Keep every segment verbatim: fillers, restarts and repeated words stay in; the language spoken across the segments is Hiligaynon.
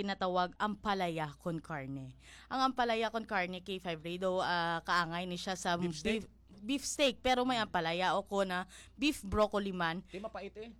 ginatawag ampalaya con carne. Ang ampalaya con carne, K five Ray, daw, ah, kaangay ni siya sa Beef steak? beef, beef steak, pero may ampalaya o kon, ah, beef broccoli man. Di mapait eh.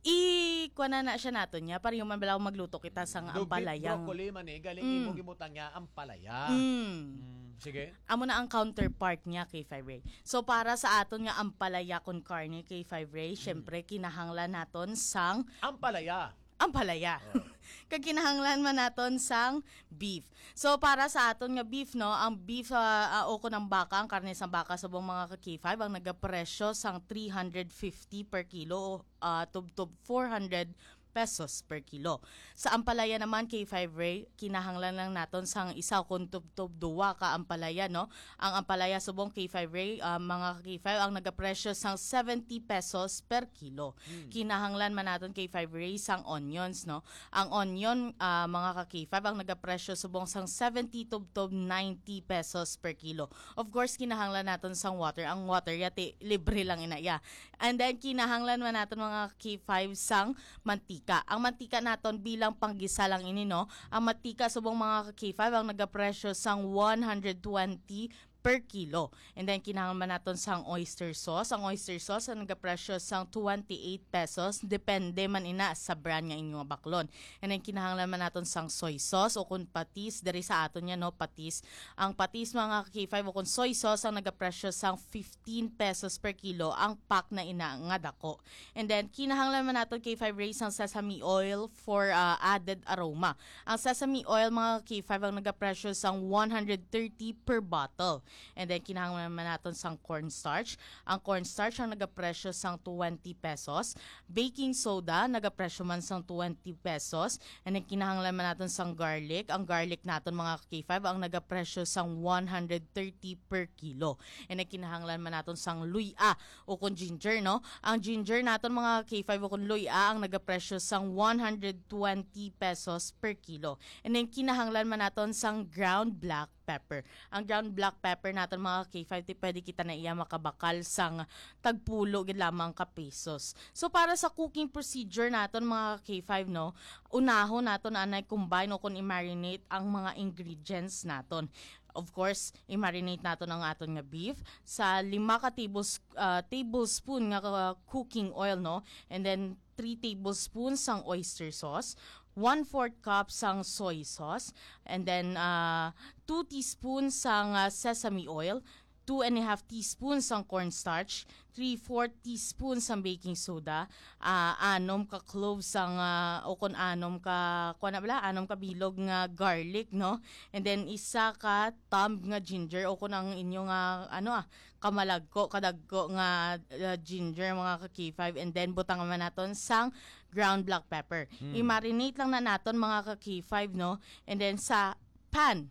I, kuha na na siya naton niya, pareho man bala kung magluto kita sang Daw beef ampalayang. broccoli man eh, galing Mm. imo gibutang niya ampalaya. Mm. Mm, sige. Amo na ang counterpart niya, K five Ray. So, para sa aton nga ampalaya con carne, K five Ray, Mm. syempre, kinahanglan naton sang Ampalaya. ampalaya. Oh. Kag kinahanglan man naton sang beef. So, para sa aton nga beef, no, ang beef, ah, ah, o kon ang baka, ang karne sang baka, subong, mga ka-K five, ang nagapresyo sang three hundred fifty per kilo, ah, tubtob four hundred pesos per kilo. Sa ampalaya naman, K five Ray, kinahanglan lang naton sang isa kon tubtob duwa ka ampalaya, no? Ang ampalaya, subong, K five Ray, ah, mga ka-K five, ang nagapresyo sang seventy pesos per kilo. Hmm. Kinahanglan man naton, K five Ray, sang onions, no? Ang onion, ah, mga ka-K five, ang nagapresyo subong sang seventy tubtob ninety pesos per kilo. Of course, kinahanglan naton sang water. Ang water, yati, libre lang ina, ya. And then, kinahanglan man naton, mga ka-K five, sang mantika. Ang mantika naton bilang panggisa lang ini, no? Ang mantika subong, mga ka-K five, ang nagapresyo sang one hundred twenty per kilo. And then, kinahanglan man naton sang oyster sauce. Ang oyster sauce ang nagapresyo sang twenty-eight pesos. Depende man ina sa brand nga inyo nga baklon. And then, kinahanglan man naton sang soy sauce o kung patis, diri sa aton yan, no, patis. Ang patis, mga ka-K five, o kung soy sauce, ang nagapresyo sang fifteen pesos per kilo. Ang pack na ina nga dako. And then, kinahanglan man naton, K five Ray, sang sesame oil for, ah, added aroma. Ang sesame oil, mga ka-K five, ang nagapresyo sang one hundred thirty per bottle. And then, kinahanglan man naton sang cornstarch. Ang cornstarch ang nagapresyo sang twenty pesos. Baking soda, nagapresyo man sang twenty pesos. And then, kinahanglan man naton sang garlic. Ang garlic naton, mga ka-K five, ang nagapresyo sang one hundred thirty per kilo. And then, kinahanglan man naton sang luya o kung ginger, no? Ang ginger naton, mga ka-K five, o kung luya, ang nagapresyo sang one hundred twenty pesos per kilo. And then, kinahanglan man naton sang ground black pepper. Ang ground black pepper naton, mga ka-K five, ti pwede kita na iya makabakal sang tagpulo gid lamang ka pesos. So, para sa cooking procedure naton, mga ka-K five, no, unahon naton anay combine o kung i-marinate ang mga ingredients naton. Of course, i-marinate naton ang aton nga beef sa lima ka tables-, ah, tablespoon nga, ah, cooking oil, no? And then, three tablespoons sang oyster sauce, one-fourth cup sang soy sauce, and then, ah, two teaspoons sang, ah, sesame oil, two and a half teaspoons sang cornstarch, three-fourth teaspoon sang baking soda, ah, anom ka cloves sang, ah, o kon anom ka, kuwan na bala, anom ka bilog nga garlic, no? And then, isa ka thumb nga ginger, o kon ang inyo nga, ano, ah, kamalagko, kadagko nga, ah, ginger, mga ka-K five. And then, butangan man naton sang ground black pepper. Hmm. I-marinate lang na naton, mga ka-K five, no? And then, sa pan,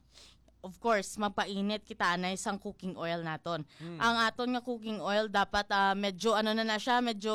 of course, magpainit kita anay sang cooking oil naton. Hmm. Ang aton nga cooking oil dapat, ah, medyo ano na na siya, medyo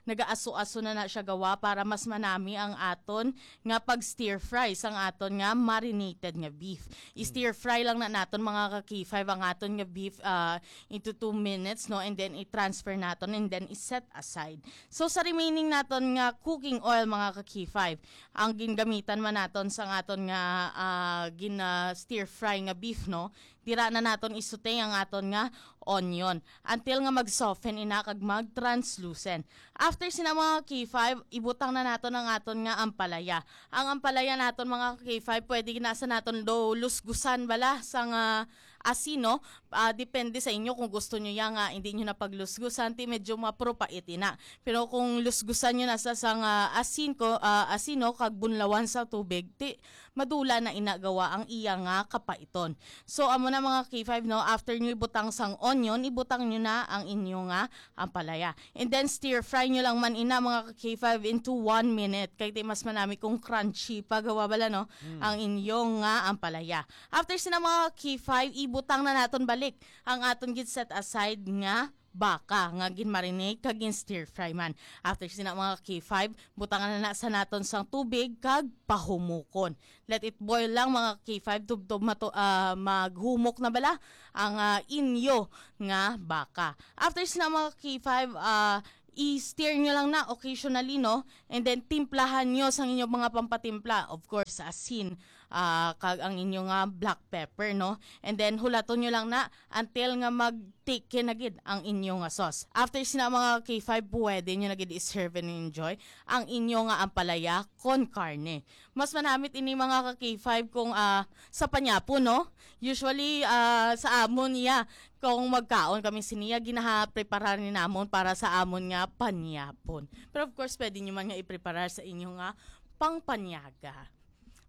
nagaaso-aso na na siya gawa para mas manami ang aton nga pag-stir fry sang aton nga marinated nga beef. Hmm. I-stir fry lang na naton, mga ka-K five, ang aton nga beef, ah, into two minutes, no, and then i-transfer naton and then i-set aside. So, sa remaining naton nga cooking oil, mga ka-K five, ang gingamitan man naton sang aton nga, ah, gin, ah, stir fry nga beef, no? Dira na naton isutay ang aton nga onion until nga mag-soften ina kag mag-translucent. After sina, mga K five, ibutang na naton ang aton nga ampalaya. Ang ampalaya naton, mga K five, pwede na sa naton do lusgusan bala sang, ah, asin, no? Ah, depende sa inyo kung gusto nyo ya nga hindi nyo na paglusgusan, ti medyo mapropait ina. Pero kung lusgusan nyo na sa, sang, ah, asin ko, ah, asin, no, kag bunlawan sa tubig, ti madula na ina gawa ang iya nga kapaiton. So, amo na, mga K five, no, after nyo ibutang sang onion, ibutang nyo na ang inyo nga ampalaya. And then, stir fry nyo lang man ina, mga K five, into one minute. Kay ti mas manami kung crunchy pa gawa bala, no, Hmm. ang inyo nga ampalaya. After sina, mga K five, ibutang na naton balik ang aton gid set aside nga baka nga gin-marinate kag gin-stir fry man. After sina, mga K five, butangan na na sa naton sang tubig kag pahumukon. Let it boil lang, mga K five, tubtob mato-, ah, maghumok na bala ang, ah, inyo nga baka. After sina, mga K five, ah, i-stir nyo lang na occasionally, no? And then, timplahan nyo sa inyong mga pampatimpla. Of course, asin, ah, kag ang inyo nga black pepper, no? And then, hulaton nyo lang na until nga mag-thick na gid ang inyo nga sauce. After sina, mga K five, pwede nyo na gid i-serve and enjoy ang inyo nga ampalaya con carne. Mas manamit ini, mga ka K five, kung, ah, sa panyapon, no? Usually, ah, sa amon, iya, kung magkaon kami siniya, ginaha-prepare ni namon para sa amon nga panyapon. Pero of course, pwede nyo man nga i-prepare sa inyo nga pangpanyaga.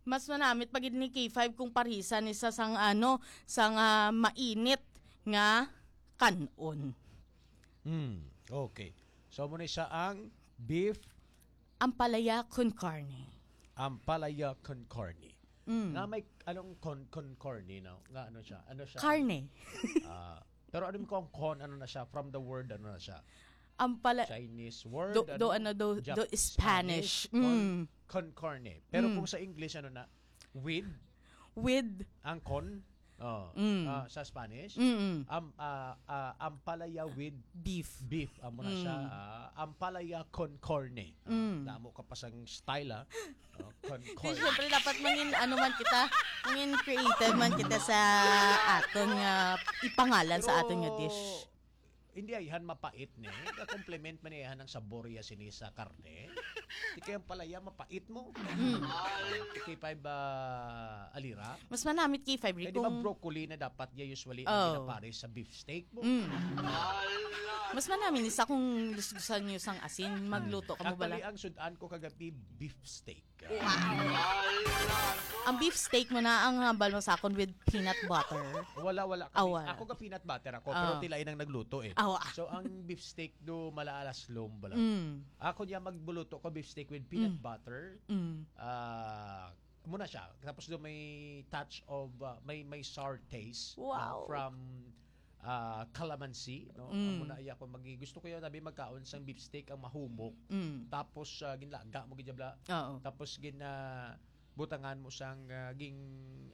Mas manamit pa gid ni K five kung parisan ni sa sang, ano, sang, ah, mainit nga kanon. Hmm, okay. So, muna sa ang beef Ampalaya con carne. Ampalaya con carne. Mm. Nga may, anong con, con carne, no? Nga ano siya? Ano siya? Carne. Ah, pero ano ko ang con, ano na siya? From the word, ano na siya? Ampala Chinese word? Do- do ano, do- Jap- do Spanish. Con, Mm. con carne. Pero Mm. kung sa English, ano na? With? With Ang con? Oh, Mm. ah, sa Spanish? Mm-mm. Am, ah, ah, ampalaya with beef. Beef, amo na siya. Mm. Ah, ampalaya con carne. Ah, Mm. Damo ka pa sang style, ah. Oh, con Di, carne. syempre, dapat mangin, ano man kita, mangin creative man kita sa aton nga ipangalan sa aton nga Pero, dish. Hindi ay han mapait ni. Ka-compliment man niya ang sabor ya sini sa karne. Di kaya palaya mapait mo. Mm. K five ba alira? Mas manamit K five, Rick, Kaya di ba kung broccoli na dapat niya usually Oh. ang ginapares sa beef steak mo? Mm. Mas manamit isa kung gusto nyo sang asin, magluto ka mo Actually, bala. Ang sudan ko kagabi, beef steak. Ang beef steak mo na ang hambal mo sa akon with peanut butter. Wala, wala. Ah, Kami, wala. Ako ka peanut butter ako, pero Ah. tila inang nagluto eh. Ah, wa- So, ang beef steak do malaalas lom bala. Mm. Ako niya magbuluto ko beef steak with peanut Mm. butter. Mm. Ah, muna siya. Tapos do may touch of, ah, may may sour taste. Wow. Ah, from ah, calamansi, no? Mm. Muna iya ko magi gusto ko yung sabi magkaon sang beef steak ang mahumok. Mm. Tapos ah, ginlaga mo gid bala. Oo. Tapos gin ah, butangan mo sang ah, ging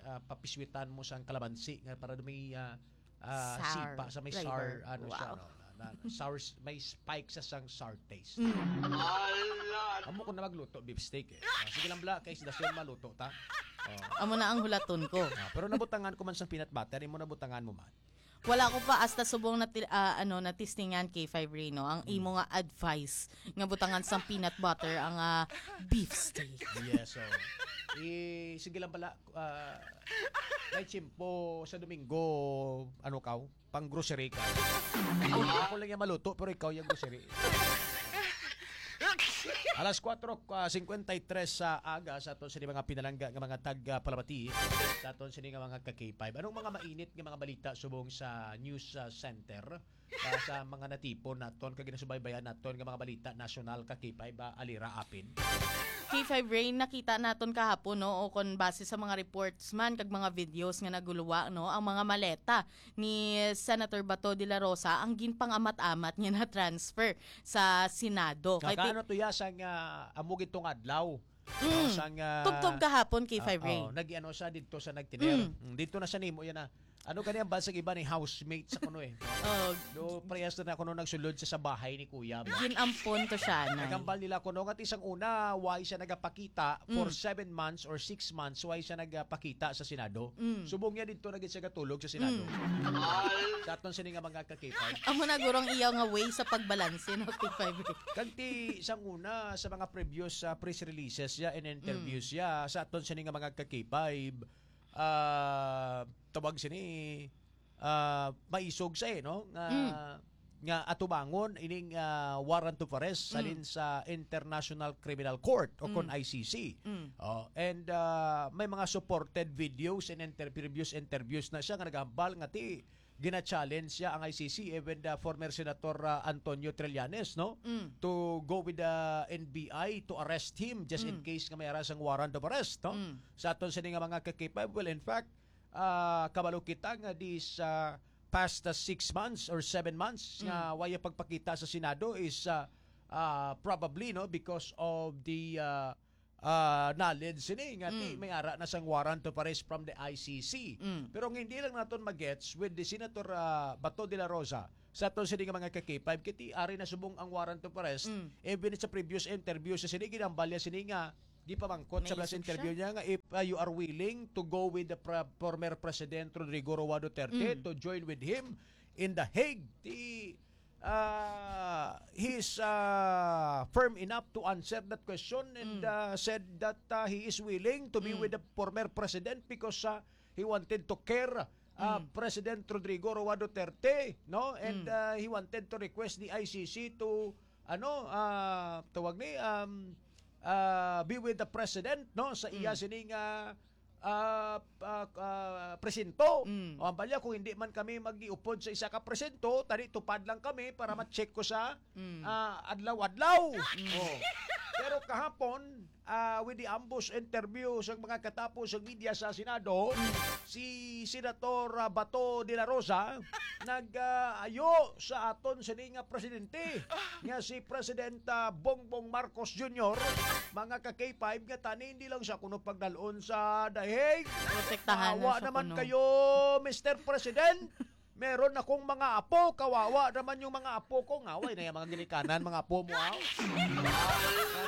ah, papiswitan mo sang calamansi nga para may ah, ah, Sour sipa sa may flavor. Sour ano siya, Wow. No? Na, na, sour s- may spike sa sang sour taste. Mm. Amo ko na magluto beef steak eh. Ah, sige lang bala kay sa dason maluto ta. Oh. Amo na ang hulaton ko. Ah, pero nabutangan ko man sang peanut butter, imo nabutangan mo man. Wala ko pa hasta subong na ti- ah, ano na testingan K five Reno ang imo nga advice nga butangan sang peanut butter ang ah, beef steak. Yes, so. I, sige lang pala, ah, may tiyempo sa Domingo, ano ka, pang grocery ka. Ako lang yung maluto, pero ikaw yung grocery. Alas kwatro, ah, singkwenta y tres sa aga sa aton sini mga pinalangga nga mga tag ah, palamati sa aton sini nga mga ka K five. Anong mga mainit nga mga balita subong sa news ah, center? Ah, sa mga natipon naton kag ginasubaybayan naton nga mga balita nasyonal ka K five ah, alira apin. K five Rain, nakita naton kahapon, no, o kon base sa mga reports man kag mga videos nga naguluwa, no, ang mga maleta ni Senator Bato de la Rosa ang ginpangamat-amat niya na transfer sa Senado. Kay ti- Nakaano to ya sang ah, amo gid tong adlaw. Mm. Sang ah, Tubtob kahapon, K five ah, Rain. Oh, nag-ano siya dito sa nagtiner. Mm. Mm, Dito na siya nimo yan na. Ano kani ang basag iba ni housemate sa kuno eh. Oh, Do prayas na kuno nagsulod sa, sa bahay ni Kuya. Ba? Ginampon to siya na. Nagambal nila kuno nga isang una, why siya nagapakita for Mm. seven months or six months, why siya nagapakita sa Senado. Mm. Subong niya dito na gid siya gatulog sa Senado. Mm. Sa aton sini nga mga ka-K five. Amo na gurong iyaw nga way sa pagbalanse, no, K five Rain. Kag ti sang una sa mga previous ah, press releases ya and interviews Mm. ya sa aton sini nga mga ka-K five, ah, tawag sini ah, maisog sa eh, no? Nga Mm. nga atubangon ining ah, warrant of arrest Mm. salin sa International Criminal Court o kon Mm. I C C. Mm. Oh, and ah, may mga supported videos and inter- previous interviews na siya nga nagahambal nga ti gina-challenge siya ang I C C, even the former Senator ah, Antonio Trillanes, no? Mm. To go with the N B I to arrest him just in Mm. case nga may ara sang warrant of arrest, no? Mm. Sa aton sini nga mga ka-K five, well, in fact, ah, kabalo kita nga this ah, past ah, six months or seven months Mm. nga waya pagpakita sa Senado is ah, ah, probably, no, because of the ah, ah, knowledge sini nga ti Mm. may ara na sang warrant of arrest from the I C C. Mm. Pero ang hindi lang naton magets with the Senator, ah, Bato de la Rosa, sa aton sini nga mga ka-K five, kay ti ari na subong ang warrant of arrest, Mm. even sa previous interview sa sini, ginambalya sini nga gipamangkot sa May last instruction? interview niya nga if, ah, you are willing to go with the pre-, former President Rodrigo Roa Duterte Mm. to join with him in The Hague. Ti, ah, he's, ah, firm enough to answer that question and, Mm. ah, said that, ah, he is willing to be Mm. with the former president because, ah, he wanted to care, ah, Mm. President Rodrigo Roa Duterte, no? And, Mm. ah, he wanted to request the I C C to, ano, ah, tawag ni, um, ah, be with the president, no? Sa iya Mm. sining, ah, ah, ah, ah, presinto. Mm. O, ang balya, kung hindi man kami mag-iupod sa isa ka presinto, tani tupad lang kami para ma-check ko sa, Mm. ah, adlaw-adlaw. Mm. Oh. Pero kahapon, ah, with the ambush interview sa mga katapos sa media sa Senado, Mm. si Senator, ah, Bato de la Rosa nag, ah, ayo sa aton sini nga presidente, nga si President, ah, Bongbong Marcos Junior, mga ka-K five, nga tani hindi lang siya kuno pagdalon sa The Hague. Protektahan na Kawawa siya naman kuno. kayo, Mister President. Meron akong mga apo, kawawa naman yung mga apo ko. Ngaway na yung mga ginikanan, mga apo mo, aw.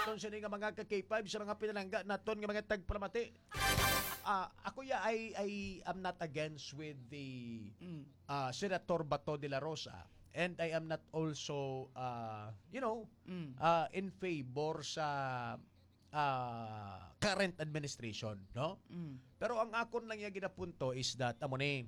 Aton sini nga mga ka-K five, sa mga pinalangga naton nga mga tagpalamati. Ah, ako ya, I, I am not against with the, Mm. ah, Senator Bato de la Rosa, and I am not also, ah, you know, Mm. ah, in favor sa, ah, current administration, no? Mm. Pero ang akon lang ya ginapunto is that, amo ni,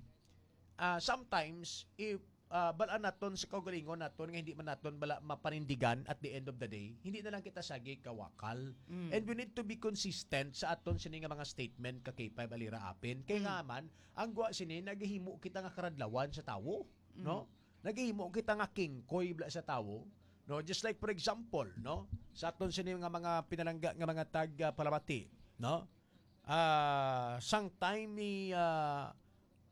ah, sometimes, if, ah, bal-an naton sa kaugalingon naton nga hindi man naton bala mapanindigan at the end of the day, hindi na lang kita sagi kawakal. Mm. And we need to be consistent sa aton sini nga mga statement ka K five Alira Apin. Kay Mm. nga man, ang gwa sini, nagahimo kita nga karadlawan sa tawo, Mm. no? Nagahimo kita nga kingkoy bala sa tawo, no? Just like, for example, no? Sa aton sini nga mga pinalangga nga mga tag, ah, palamati, no? Ah, sang time ni, ah,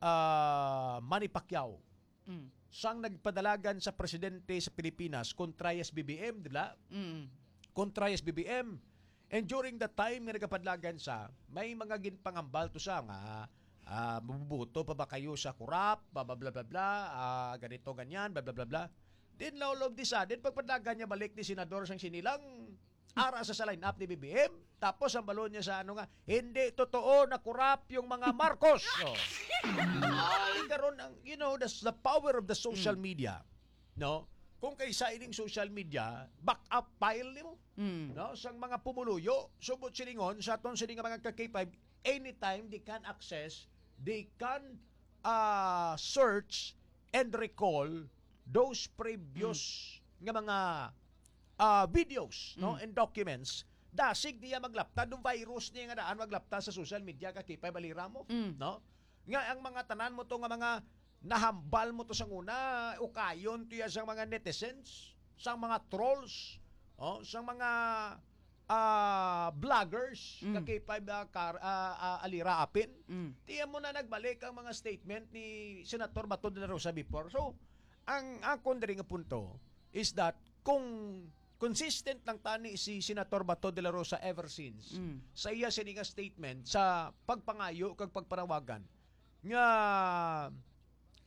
ah, Manny Pacquiao, Mm. sang nagpadalagan sa presidente sa Pilipinas kontra S B B M, di ba? Mm. Kontra S B B M. And during the time nga nagapadlagan sa, may mga ginpangambal to sa nga, ah, mabubuto pa ba kayo sa korap, bla, bla, bla, bla, bla, ah, ganito, ganyan, bla, bla, bla, bla. Then, all of the sudden, pagpadlagan niya balik ni Senador sang sinilang, ara sa, sa line-up ni B B M. Tapos ang balon niya sa ano nga, "Hindi totoo na korap yung mga Marcos." Oh. Ay, karon ang, you know, that's the power of the social Mm. media. No? Kung kaysa ining social media, back up file nimo. Mm. No? Sang mga pumuluyo, subot silingon, sa aton sini nga mga ka K five, anytime they can access, they can, ah, search and recall those previous Mm. nga mga, ah, videos, no, Mm. and documents. Dasig niya maglapta, do virus niya nga daan maglapta sa social media ka K five Alira mo, Mm. no? Nga ang mga tanan mo to nga mga nahambal mo to sa una, ukayon to ya sang mga netizens, sang mga trolls, oh, sang mga, ah, bloggers, Mm. ka K five, ah, kar-, ah, ah, Alira Apin. Mm. Tiyan mo na nagbalik ang mga statement ni Senator Bato de la Rosa before. So, ang akon diri nga punto is that kung consistent lang tani si Senator Bato de la Rosa ever since Mm. sa iya sini nga statement sa pagpangayo kag pagpanawagan nga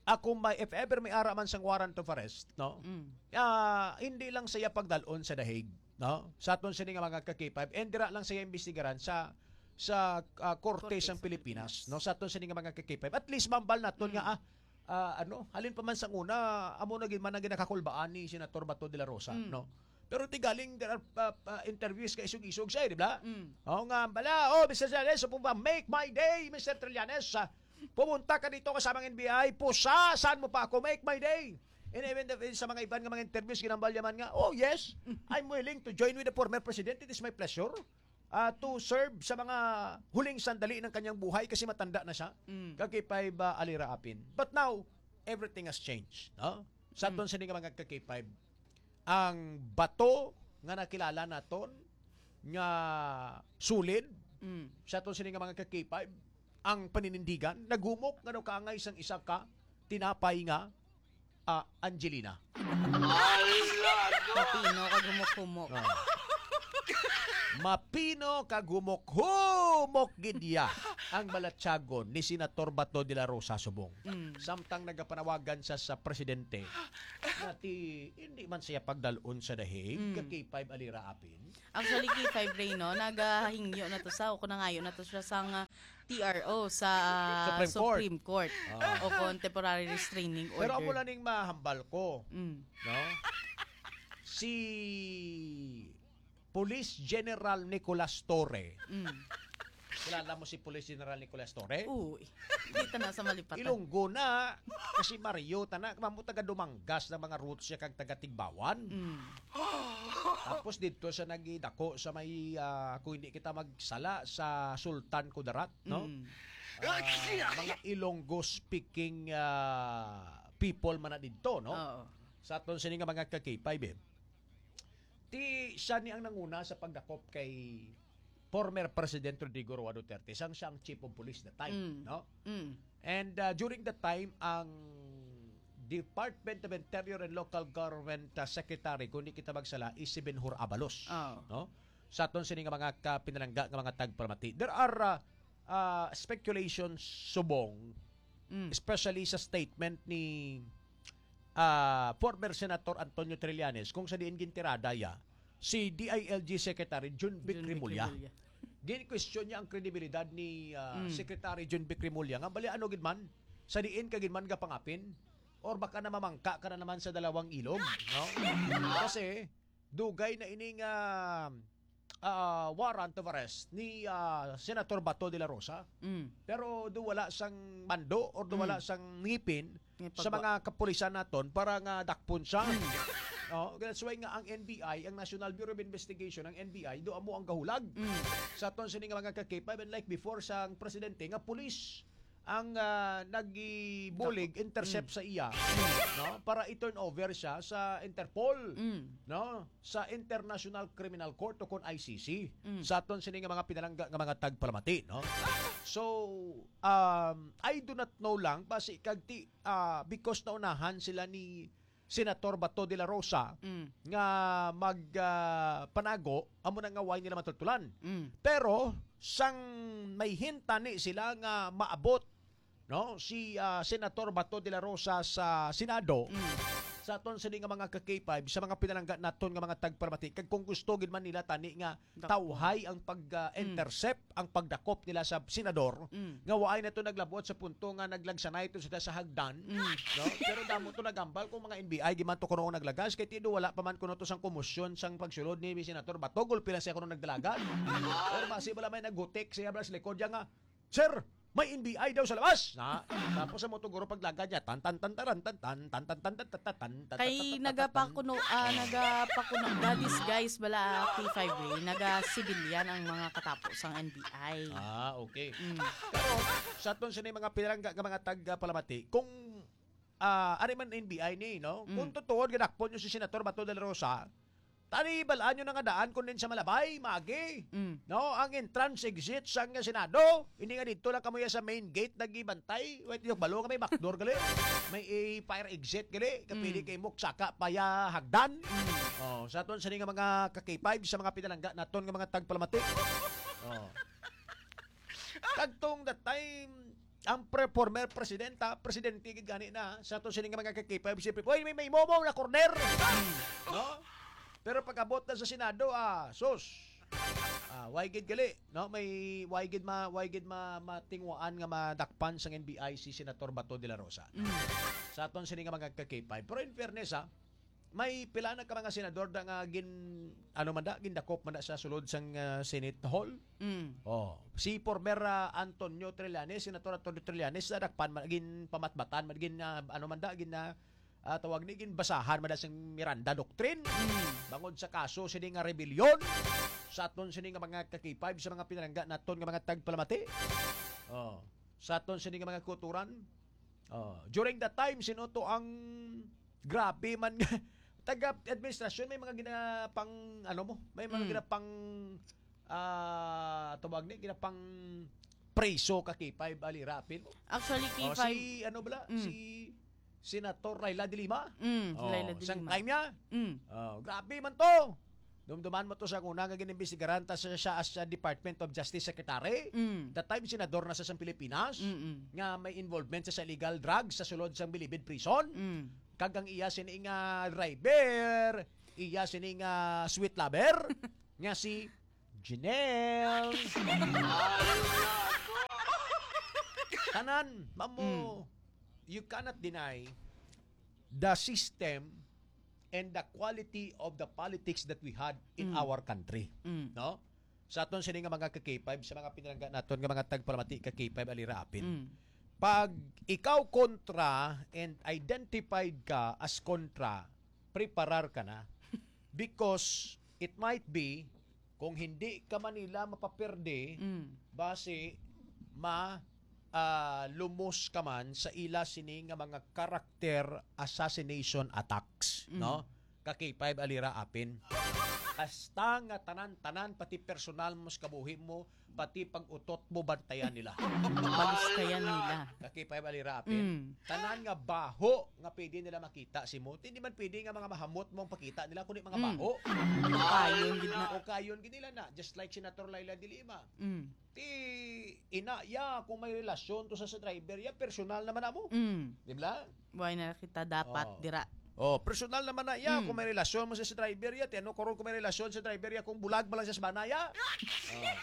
ako may, if ever may ara man sang warrant of arrest, no? Mm. Ah, hindi lang siya pagdalon sa The Hague, no? Sa aton sini nga mga ka K five, and dira lang siya imbestigaran sa, sa, ah, korte Korte sang sa Pilipinas, Pilipinas. no? Sa aton sini nga mga ka K five. At least mambal naton Mm. nga, ah, ah, ano, halin pa man sang una, amo na gid man ang ginakakulbaan ni Senator Bato de la Rosa, Mm. no? Pero ti galing, there are, ah, ah, interviews ka isog-isog siya, eh, di ba? Mm. Oo nga, bala, "Oh, Mister Trillanes, so po ba, make my day, Mister Trillanes, ah, pumunta ka dito kasama ng N B I, pusasan mo pa ako, make my day." And even the, sa mga iban nga mga interviews, ginambal niya man nga, "Oh, yes, I'm willing to join with the former president. It is my pleasure, ah, to serve sa mga huling sandali ng kanyang buhay kasi matanda na siya." Mm. Ka K five, ah, Alira Apin. But now, everything has changed, no? Sa Mm. aton sini nga mga ka K five, ang Bato nga nakilala naton nga solid Mm. sa aton sini nga mga ka K five, ang paninindigan, naghumok nga daw kaangay sang isa ka tinapay nga, ah, Angelina. Ala, no? Pepino kag humok-humok. Ah. Mapino kag humok-humok gid iya ang balatyagon ni Senator Bato de la Rosa subong. Mm. Samtang nagapanawagan sa, sa presidente nga ti, hindi man siya pagdalon sa dahig, Mm. ka K five alira apin. Actually, K five Ray, no? Nagahingyo na to sa, o kung nangayo na to siya sang, ah, T R O sa Supreme Court. Supreme Court. Ah. O kung temporary restraining order. Pero amo na ning mahambal ko, Mm. no? Si Police General Nicolas Torre. Mm. Kilala mo si Police General Nicolas Torre? Uy, kita na sa malipatan. Ilonggo na. Kasi Mario, tana, mamo taga Dumangas ng mga roots siya kag taga Tigbawan. Mm. Tapos dito siya nagidako sa may, ah, kung hindi kita magsala, sa Sultan Kudarat, no? Mm. Ah, mga Ilonggo speaking, ah, people man na dito, no? Oo. Sa aton sini nga mga ka-K five, eh. Ti siya ni ang nanguna sa pagdakop kay former President Rodrigo Roa Duterte, sang siya ang chief of police that time, Mm. no? Mm. And, uh, during that time, ang Department of Interior and Local Government, uh, Secretary, kung di kita magsala, is si Benhur Abalos, Oh. no? Sa aton sini nga mga kapinalangga nga mga tagpalamati. There are, uh, uh, speculations subong, Mm. especially sa statement ni, uh, former Senator Antonio Trillanes, kung sa diin gintirada ya si D I L G Secretary Jun Vic Jun Vic Remulla. Remulla. Gin-question niya ang kredibilidad ni, uh, Mm. Secretary Jun Vic Remulla nga bali ano gid man, sa diin ka gid man gapangapin, or baka na mamangka ka na naman sa dalawang ilog, no? Kasi dugay na ining, ah, ah, warrant of arrest ni, ah, Senator Bato de la Rosa. Mm. Pero do wala sang mando or do wala Mm. sang ngipin Ngipin sa ba? mga kapulisan naton para nga dakpon siya. Mm. Oh, that's why nga ang N B I, ang National Bureau of Investigation, ang N B I, do amo ang gahulag Mm. sa aton sini nga mga ka-K five, and like before sang presidente nga pulis ang, ah, nagibulig, Dako. intercept Mm. sa iya, no? Para i-turn over siya sa Interpol, Mm. no? Sa International Criminal Court o kon I C C. Mm. Sa aton sini nga mga pinalangga nga mga tagpalamati, no? So, um, I do not know lang, basi kag ti, ah, because naunahan sila ni Senator Bato de la Rosa Mm. nga mag, ah, panago, amo na nga way nila matultulan. Mm. Pero sang may hintani sila nga maabot, no, si, ah, Senator Bato de la Rosa sa Senado, Mm. sa aton sini nga mga ka-K five, sa mga pinalangga naton nga mga tagpalamati, kag kung gusto gid man nila tani nga Dakop. tawhay ang pag, ah, Mm. intercept, ang pagdakop nila sa senador, Mm. nga waay na to naglabot sa punto nga naglagsanay to sila sa hagdan, Mm. no? Pero damo to nagambal kung mga N B I, di man to kuno naglagas, kay ti do wala pa man kuno to sang komosyon sang pagsulod ni Senator Bato, gulpi lang siya kuno nagdalagan. Or basi bala may nagutik siya bala sa likod niya nga, "Sir, may N B I daw sa labas." Na, tapos sa moto guro paglagad niya, tan, tan, tan, taran, tan, tan, tan, tan, tan, tan, tan, tan, tan, Kay tan, tan, nagapakuno, tan, ah, tan. nagapakuno, ga-disguise bala, P five A, naga-civilian ang mga katapo sang N B I. Ah, okay. Mm. Pero sa aton sini mga pinalangga nga mga tagpalamati, kung, ah, ari man N B I ni, no? Mm. Kung tutuod, gadakpon nyo si Senator Bato de la Rosa, tani, balaan nyo na nga daan kung din sa Malabay, Magi. Mm. No, ang entrance exit sang Senado, hindi nga dito lang kamo ya sa main gate nagibantay. Wait, yung balo nga may backdoor gali. May, eh, fire exit gali. Kapili Mm. kay Mok, saka pa ya hagdan. Mm. Oh, sa aton sini nga mga ka-K five, sa mga pinalangga naton nga mga tagpalamati. Oh. Kagtong that time, ang pre-, former presidenta, presidente gid gani na, sa aton sini nga mga ka-K five, siyempre, "Uy, may, may momo na corner." No? Pero pag-abot na sa Senado, ah, sus. Ah, way gid gali, no? May way gid ma-, way gid ma-, matingwaan nga madakpan sang N B I si Senator Bato de la Rosa. Mm. Sa aton sini nga mga ka-K five. Pero in fairness, ah, may pila na ka mga senador da nga gin-, ano man da, gindakop man da sa sulod sang, ah, Senate Hall. Mm. Oh, si former, ah, Antonio Trillanes, Senator Antonio Trillanes, nadakpan man, ginpamatbatan man, gin, ah, ano man da, gin, ah, ah, tawag ni, ginbasahan man da sang Miranda Doctrine. Mm. Bangod sa kaso sini nga rebellion, sa aton sini nga mga ka-K five, sa mga pinalangga naton nga mga tagpalamati. Oh, sa aton sini nga mga kuturan. Oh, during that time, sino to ang grabe man nga taga-administrasyon, may mga ginapang, ano mo, may mga Mm. ginapang, ah, tawag ni, ginapang preso ka K five, Ali Rapin mo. Actually, Oh, K five si, ano bala? Mm. Si Senator Leila de Lima. Mm, Oh, Leila de sang Lima. time niya. Mm. Oh, grabe man to. Dumduman mo to sa una nga ginimbestigaran ta sa siya as a Department of Justice Secretary. Mm. That time, senador na sa sang Pilipinas, Mm-mm. nga may involvement sa, sa illegal drugs sa sulod sang Bilibid Prison. Mm. Kag ang iya sini nga driver, iya sini nga sweet lover, nga si Janelle. Tanan, mamo, Mm. you cannot deny the system and the quality of the politics that we had in Mm. our country. Mm. No? Sa aton sini nga mga ka-K five, sa mga pinalangga naton nga mga tagpalamati ka-K five, Alira Apin. Mm. Pag ikaw kontra and identified ka as kontra, preparar ka na. Because it might be, kung hindi ka man nila mapaperde, Mm. basi ma, ah, lumos ka man sa ila sini nga mga character assassination attacks, Mm. no? Ka K five Alira Apin. Hasta nga tanan-tanan, pati personal mo sa kabuhi mo, pati pag-utot mo, bantayan nila. Balistayan nila. Ka K five Alira Apin. Mm. Tanan nga baho nga pwede nila makita si mo. Hindi man pwede nga mga mahamot mo ang pakita nila, kundi mga Mm. baho. Kayon gid na. O kayon gid nila na. Just like Senator Leila de Lima. Mm. Ti ina ya, kung may relasyon to sa, sa driver ya, personal naman na mo. Mm. Di ba? Why na kita dapat Oh. dira? Oh, personal naman na ya, Mm. kung may relasyon mo sa, sa driver ya, ti ano karon kung may relasyon sa driver ya, kung bulag man lang sa sabana ya? Oh.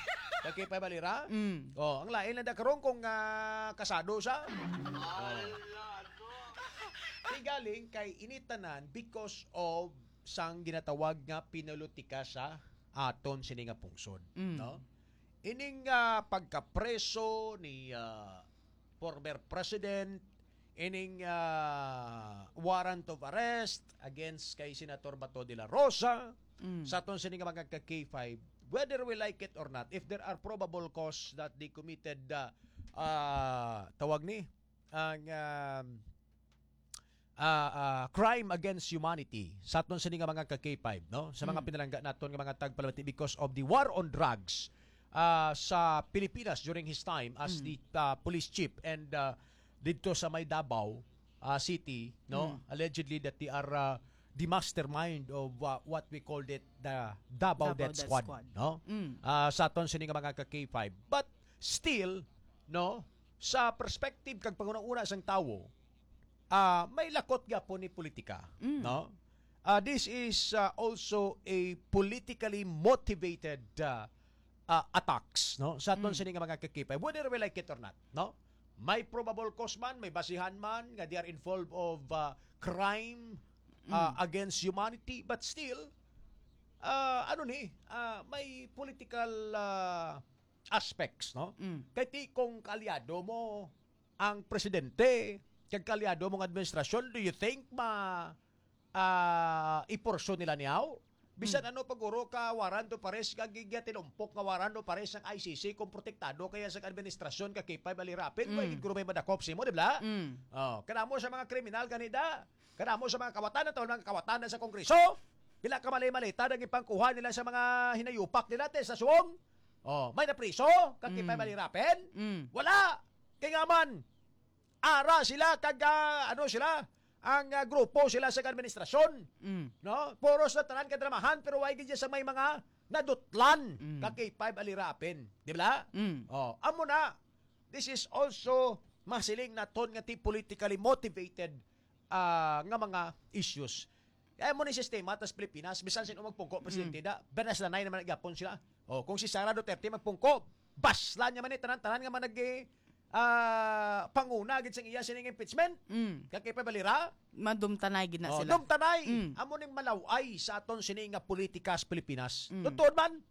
Ka K five Alira? Mm. Oh, ang lain lang da karon kung, ah, kasado sa. Oh. Ti galing kay ini tanan because of sang ginatawag nga pinulitika sa aton sini nga pungsod, Mm. no? Ining, ah, pagkapreso ni, ah, former president, ining, ah, warrant of arrest against kay Senator Bato de la Rosa, Mm. sa aton sini nga mga ka K five, whether we like it or not, if there are probable cause that they committed, ah, ah, tawag ni, ang, um, ah, ah, crime against humanity sa aton sini nga mga ka K five, no? Sa mga Mm. pinalangga naton nga mga tagpalamati because of the war on drugs, ah, sa Pilipinas during his time as Mm. the, ah, police chief and, ah, didto sa may Davao, ah, City, no? Mm. Allegedly that they are, ah, the mastermind of, ah, what we called it the Davao Davao Death Death Squad, Squad. no? Mm. Ah, sa aton sini nga mga ka K five. But still, no, sa perspective kag panghunahuna sang tawo, ah, may lakot gyapon ni politika, Mm. no? Ah, this is, ah, also a politically motivated, ah, ah, attacks, no? Sa aton Mm. sini nga mga ka K five, whether we like it or not, no? May probable cause man, may basihan man nga they are involved of, ah, crime, ah, Mm. against humanity, but still, ah, ano ni, ah, may political, ah, aspects, no? Mm. Kay ti kung kaalyado mo ang presidente, kag kaalyado mo ang administrasyon, do you think ma, ah, iporsyon nila niyaw? Bisan Mm. ano pa guro ka warrant of arrest, kag gigya tinumpok nga warrant of arrest sang I C C kung protektado kaya sa administrasyon ka K five Alirapin, Mm. way gid guro may madakop simo, di ba? Mm. Oh, kanamo sa mga kriminal gani da. Kanamo sa mga kawatan, ato mga kawatan na sa Kongreso. Pila ka mali-malita nang ipangkuha nila sa mga hinayupak nila, te, sa suong. Oh, may napriso kag K five Mm. Alirapin? Mm. Wala. Kay nga man, ara sila kag, ah, ano sila, ang, ah, grupo sila sa administrasyon. Mm. No? Puros na tanan kadramahan, pero way gid sa may mga nadutlan Mm. kag K five Alirapin. Di ba? Mm. Oh, amo na. This is also masiling naton nga ti politically motivated, ah, nga mga issues. Kaya mo ni sistema tas Pilipinas, bisan sino magpungko, presidente Mm. da, banas na naman gyapon sila. Oh, kung si Sara Duterte magpungko, baslan niya man ni tanan-tanan nga man nag, ah, panguna gid sang iya sining impeachment. Mm. Kag kay Pabalira, Madumtanay gid na oh, sila. Dumtanay. Mm. Amo ning malaway sa aton sini nga politika sa Pilipinas. Mm. Totoo man.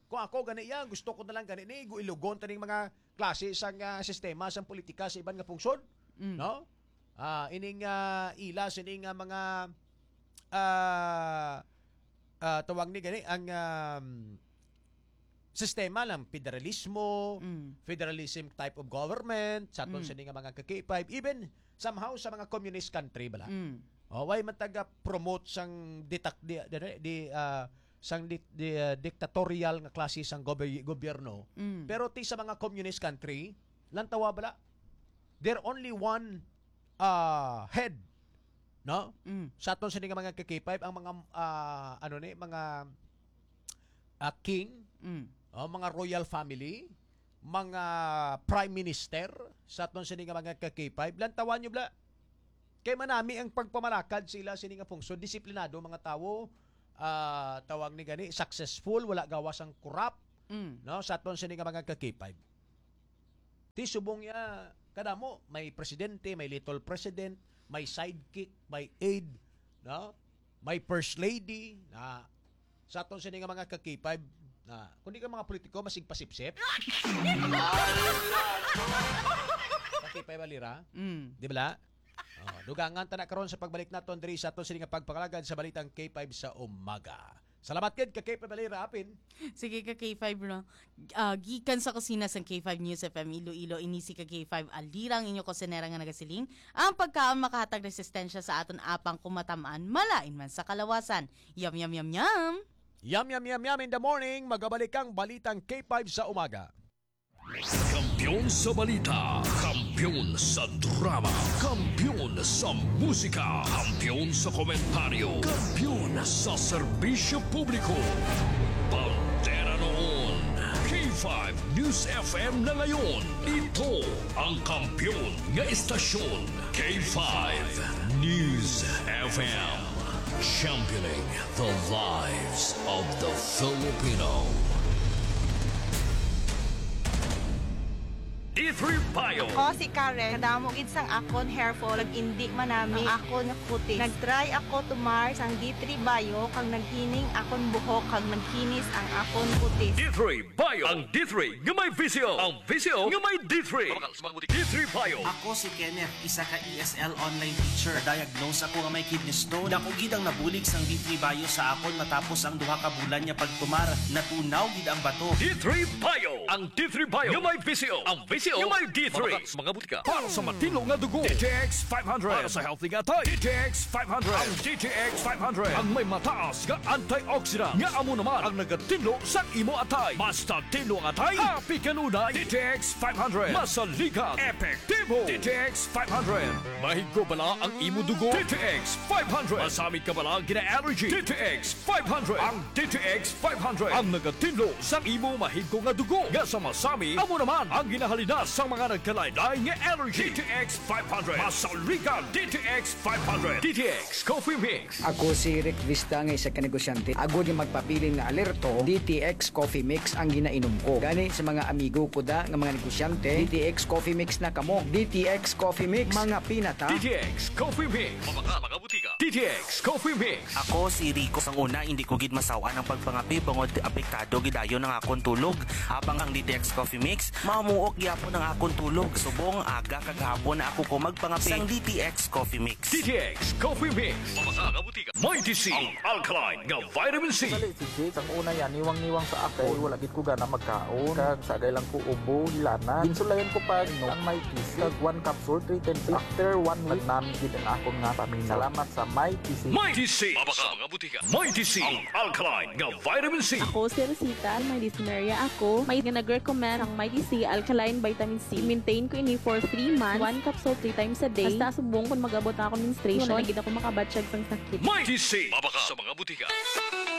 Kung ako gani iya, gusto ko na lang gani ni ilugon taning mga klase sang, ah, sistema sang politika sa iban nga pungsod, Mm. no? Ah, ining, ah, ila sini nga mga, ah, ah, tawag ni gani ang, um, sistema lang, federalismo, Mm. federalism type of government, sa aton Mm. sini nga mga ka K five, even somehow sa mga communist country bala. Mm. Oh, way man taga promote sang ditak-, di, di, di, ah, sang di, di, ah, dictatorial nga klase sang goby-, gobyerno. Mm. Pero ti sa mga communist country, lantawa bala, there only one, ah, head, no? Mm. Sa aton sini nga mga ka K five, ang mga, ah, ano ni, mga ah, king, Mm. oh, mga royal family, mga prime minister sa aton sini nga mga ka K five. Lantawan nyo bala. Kay manami ang pagpamalakad sila sini nga pungsod. Disiplinado mga tawo, ah, tawag ni gani, successful, wala gawas ang corrupt, Mm. no, sa aton sini nga mga ka K five. Ti subong niya, kadamo, may presidente, may little president, may sidekick, may aide, no? May first lady, na sa aton sini nga mga ka K five, na, kundi ka mga politiko, masig pasipsip. Ka K five, Alira? Mm. Di ba? Oh, dugangan ta na karon sa pagbalik naton diri sa aton sini nga pagpangalagad sa balitang K five sa umaga. Salamat gid ka K five Alira, apin. Sige ka K five, no? Ah, gikan sa kusina sang K five News F M Iloilo, ini si ka K five Alira, ang inyo kusinera nga nagasiling, ang pagkaon makahatag resistensya sa aton apang kumatamaan, malain man sa kalawasan. Yum, yum, yum, yum! Yum, yum, yum, yum in the morning. Magabalik ang balitang K five sa umaga. Kampiyon sa balita, kampiyon sa drama, kampiyon sa musika, kampiyon sa komentaryo, kampiyon sa serbisyo publiko. Bandera noon, K five News F M na ngayon. Ito ang kampiyon nga istasyon, K five News F M. Championing the lives of the Filipino. D three Bio. Ako si Karen. Kadamo gid sang akon hair fall, nag-indi man nami ang akon nga kutis. Nag-try ako tumar sang D three Bio, kag naghining akon buhok, kag nagkinis ang akon kutis. D three Bio. Ang D three nga may visyo. Ang visyo nga may D three. D three Bio. Ako si Kenneth, isa ka E S L online teacher. Na-diagnose ako nga may kidney stone. Dako gid ang nabulig sang D three Bio sa akon matapos ang duha ka bulan nga pagtumar. Natunaw gid ang bato. D three Bio. Ang D three Bio nga may visyo. Ang visyo nga may D three. Mga butika. Para sa matinlo nga dugo, D T X five hundred. Para sa healthy nga atay, D T X five hundred. Ang D T X five hundred ang may mataas nga antioxidant nga amo naman ang nagatinlo sa imo atay. Basta tinlo ang atay, happy kanunay. D T X five hundred. Masaligan, epektibo. D T X five hundred. Mahigko bala ang imo dugo? D T X five hundred. Masami ka bala gina-allergy? D T X five hundred. Ang D T X five hundred ang nagatinlo sa imo mahigko nga dugo nga sa masami, amo naman ang ginahalinas sa mga nagkalain-lain nga allergy. D T X five hundred. Masaligan, D T X five hundred. D T X Coffee Mix. Ako si Rick Vista nga isa ka negosyante. Agod nga magpabilin nga alerto, D T X Coffee Mix ang ginainom ko. Gani sa mga amigo ko da nga mga negosyante, D T X Coffee Mix na kamo. D T X Coffee Mix, mga pinata. D T X Coffee Mix. Mga, mga butika. D T X Coffee Mix. Ako si Rico. Sang una, hindi ko gid masaw-an ang pagpangape bangod apektado gid ayo ang akon tulog. Habang ang D T X Coffee Mix, mamuok gyapon ang akon tulog. Subong aga kag hapon na ako ko magpangape. Sang D T X Coffee Mix. D T X Coffee Mix. Mga, mga butika. Mighty C, ang alkaline nga vitamin C. Sali si Jake, sang una yan, niwang-niwang sa ako. Wala gid ko gana magkaon. Kag sagay lang ko ubo, hilanat. Ginsulayan ko pa, no, ang Mighty C. Kag one capsule, three times. After one week, nagnami gid ang akon nga pamina. Salamat sa Mighty C. Mighty C. Mga, mga butika. Mighty C, ang alkaline nga vitamin C. Ako si Rosita, may dysmenorrhea ako. May nga nag-recommend ang Mighty C alkaline vitamin C. Maintain ko ini for three months, one capsule three times a day. Hasta subong kon mag-abot na akong menstruation, wala na gid ako makabatsyag sang sakit. Mighty C, mabaka sa mga butika.